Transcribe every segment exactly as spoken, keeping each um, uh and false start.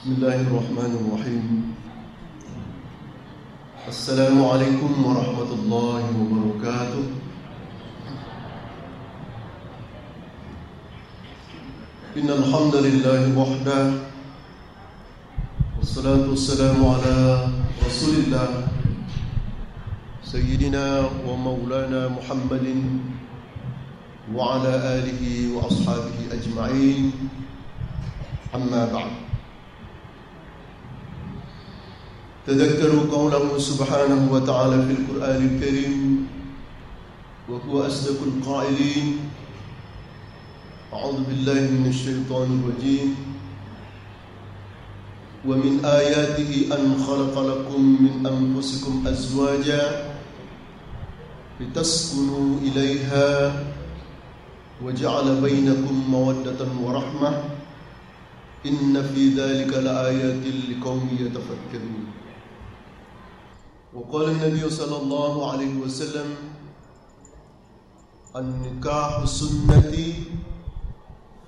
بسم الله الرحمن الرحيم. السلام عليكم ورحمة الله وبركاته. إن الحمد لله وحده، والصلاة والسلام على رسول الله سيدنا ومولانا محمد وعلى آله وأصحابه أجمعين. أما بعد، تذكروا قوله سبحانه وتعالى في القرآن الكريم، وهو أصدق القائلين: أعوذ بالله من الشيطان الرجيم. ومن آياته أن خلق لكم من أنفسكم أزواجا لتسكنوا إليها وجعل بينكم مودة ورحمة إن في ذلك لآيات لقوم يتفكرون. وقال النبي صلى الله عليه وسلم: النكاح سنتي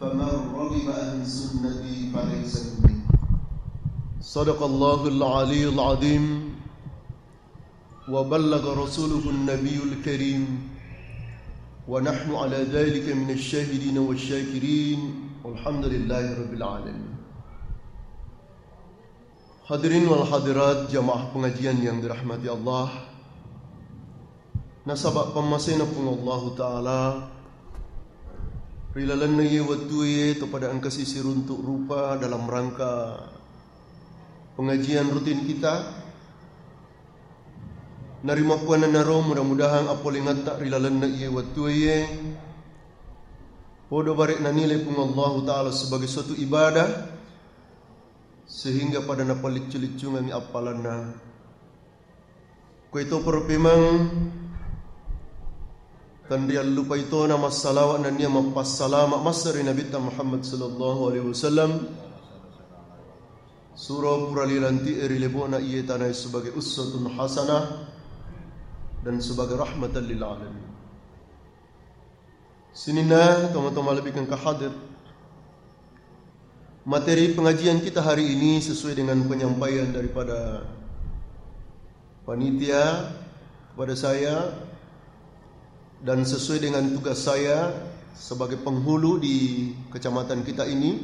فمن رغب عن سنتي فليس مني. صدق الله العلي العظيم وبلغ رسوله النبي الكريم ونحن على ذلك من الشاهدين والشاكرين والحمد لله رب العالمين. Hadirin wal hadirat jamaah pengajian yang dirahmati Allah. Nasaba pammasena Puang Allahu Ta'ala, ri lalenna iye wettue to pada engkasi siruntuk rupa dalam rangka pengajian rutin kita. Narimakkuannanaro mudah-mudahan apolengetta ri lalenna iye wettue iye podo bare'na nilai Puang Allahu Ta'ala sebagai suatu ibadah, sehingga pada napalliccu-liccungangngi appalanna. Kuito pura pemeng, tenriallupai tona massalawa nennia mappassalama massa ri Nabitta Muhammad sallallahu alaihi wasallam, suro pura lilanti'e ri lebona iye tanae sebagai uswatun hasanah dan sebagai rahmatan lil alamin. Sininna tomatoa malebbi engka hadir. Materi pengajian kita hari ini sesuai dengan penyampaian daripada panitia kepada saya dan sesuai dengan tugas saya sebagai penghulu di kecamatan kita ini,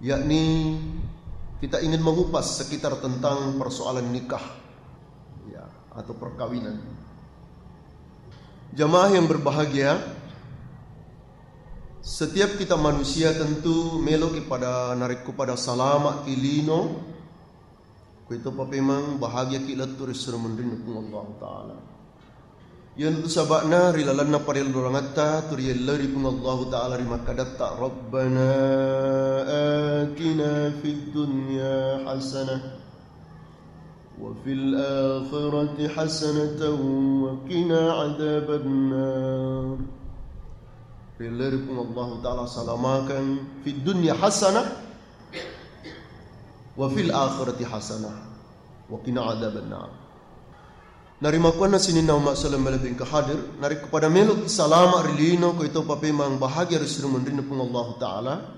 yakni kita ingin mengupas sekitar tentang persoalan nikah, ya, atau perkawinan. Jamaah yang berbahagia, setiap kita manusia tentu meloki pada narekko pada salamaki lino, kuito papemang bahagiaki lettu ri suro munrinna Puang Allahu Ta'ala. Iyanatu saba'na ri lalenna parellurangatta tu riyelloi ri Puang Allahu Ta'ala ri makkadatta, "Rabbana atina fid dunya hasanah wa fil akhirati hasanatan wa qina adzabannar." Riyelloi ri Puang Allahu Ta'ala salamakan fid dunya hasanah wa fil akhirati hasanah wa qina adzabannar. Narimakkuanna sininna umma selleng malebbi engka hadir, narekko pada meloki salama ri lino, kuito papemang bahagia ri suro munrinna Puang Allahu Ta'ala,